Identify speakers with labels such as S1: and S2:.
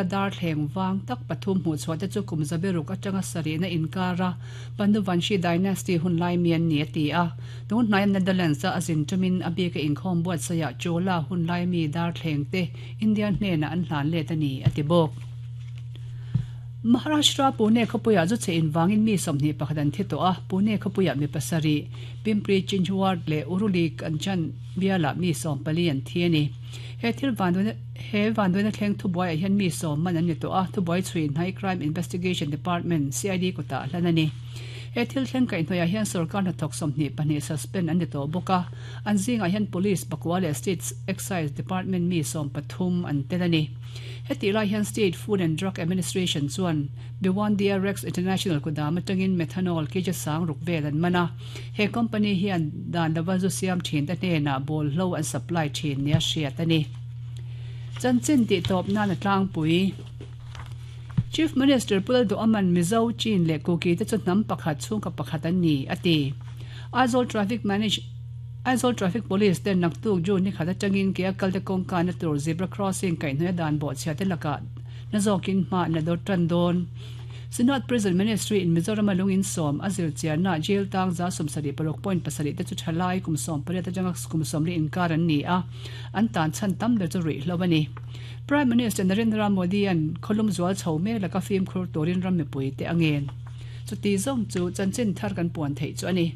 S1: Darthleng vang tak pathum hmuhchhuah te chu kum zaberuk atanga sarihna inkara Panduvanshi Dynasty hun lai mi an ni a ti a. Tun hnaia Netherlands a a zin tumin a bika inkhawm buatsaihah Chola hun lai mi darthleng te India hnenah an hlan let a ni a ti bawk. Maharashtra Pune khawpuiah zu chhe invangin mi 21 an thi tawh a, Pune khawpuiah mi pasarih, Pimpri Chinchwad leh Uruli Kanchan bialah mi 14 an thi a ni. He thil vanduaina He vanduaina thleng thubuaiah hian mi sawm man an ni tawh a, thubuai chhui hnai Crime Investigation Department, CID, kutah hlan a ni. He thil thleng kaihhnawihah hian sorkar hnathawk 22 suspend an ni tawh bawk a, an zingah hian Police pakua leh State Excise Department mi 13 an tel a ni. Hetih lai hian State Food and Drug Administration chuan Bhiwandi-a Rex International kudam atangin methanol kg sang ruk vel an man a, he company hian dan lova zu siam thinte hnenah bawlhlo an supply thin nia hriat a ni. Chanchin tih tawp nan a tlangpui. Chief Minister Pu Lalduhaman Mizo, Chin leh Kuki te chu hnam pakhat chhungkaw pakhat an ni, a ti. Aizawl Traffic Manage Aizawl Traffic Police ten naktuk June ni khat atangin ke a kalte kawngkana tur zebra crossing kaihhnawih a dan bawhchhia te lakah na zawkin hma an la dawt tan dawn. Synod Prison Ministry in Mizoram a lungin sawm a zir chianna jail tang 76.7 te chu thalai kum 18 atanga kum 40 inkar an ni a, an tan chhan tam ber chu ruihhlo a ni. Prime Minister Narendra Modi-a'n khawlum zual chho mek laka fimkhur turin ram mipui te a ngen. Chuti zawng chu chanchin thar kan puan theih chu a ni.